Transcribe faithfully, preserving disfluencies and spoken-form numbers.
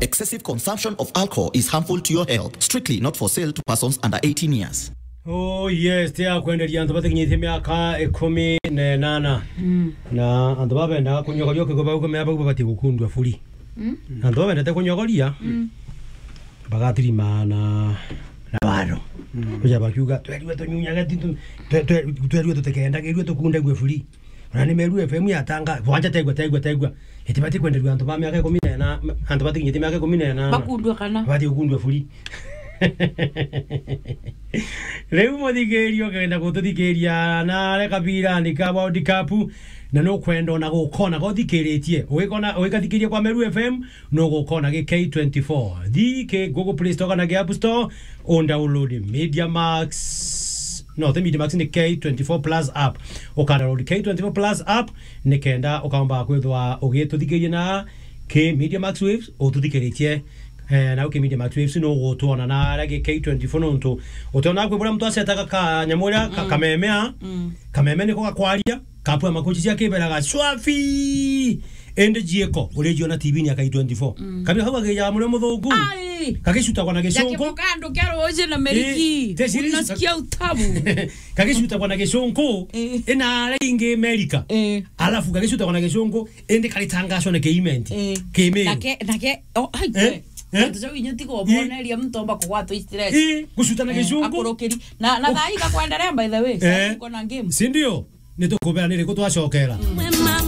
Excessive consumption of alcohol is harmful to your health. Strictly not for sale to persons under eighteen years. Oh yes, tia kwenderia antu batikinyitie miaka ikumi na inana. Mm. Na antu babendaga kunyogoria ukigwa bau kumea bau babatie gukundua buri. Mm. Na antu babendete kunyogoria, mm, bagatirima na, na waro. Mm. Kuja bakiuga, "Twerue tunyunyage, ti tu-, twe-, twe-, twerue tutikendagirue tukundague buri." Ona ni Meru F M yatanga, bwanja tegwa, tegwa, tegwa. Itibati kwenderua antu ba miaka ikumi na ina, antu batikinyite miaka ikumi na ina. Bakundua kana? Bati gukundua buri. Riu muthikiria ukenda gututhikiria na are kabirani ka World Cup, na nukwenda ona gukona guthikiritie. Ugikona, ugikathikiria kwa Meru F M, nugukona gi K twenty-four. Thi ki Google Play Store kana gi App Store, undownload Media Max. No, ti Media Max, ni K twenty-four Plus app. Ukadownload K twenty-four Plus app, nikenda ukaomba kwithwa ugituthikiria na ki Media Max Waves, ututhikiritie. Eh, na uki Media Max Waves no gutwona na aragi K twenty-four nontu. Utiona kwi buria muntu acetaga ka nyamu uria ka-, mm, kameme a. Mm. Kameme niko gakwaria, kapua makuchi cia kibera ga shwafi. Indi jiiko, urijiona T V-ini ya K twenty-four. Mm. Kabira kau gakijaga murio muthungu. Ai! Gagicutagwa na gicunku. Gakiboka andu kia ruuji na meriki. Ii, te series. Unasikia utamu. Gagicutagwa na gicunku, ii, ina aria ingi Amerika. Ii. Alafu gagicutagwa na gicunku, indi karitangacwa na kiimenti. Ii. Kimiru. Nake, nake, oh, ai, eh? Eh? Antu jau inya tiga uboneria muntu omba kugwatwa i stress. Ii, gucuta na, eh, gicunku. Akurukiri. Na, na thaa ii gakwenderea, by the way. Eh. Saa ii tuko na game. Si ndio? Nitukubera ni riku twacokera.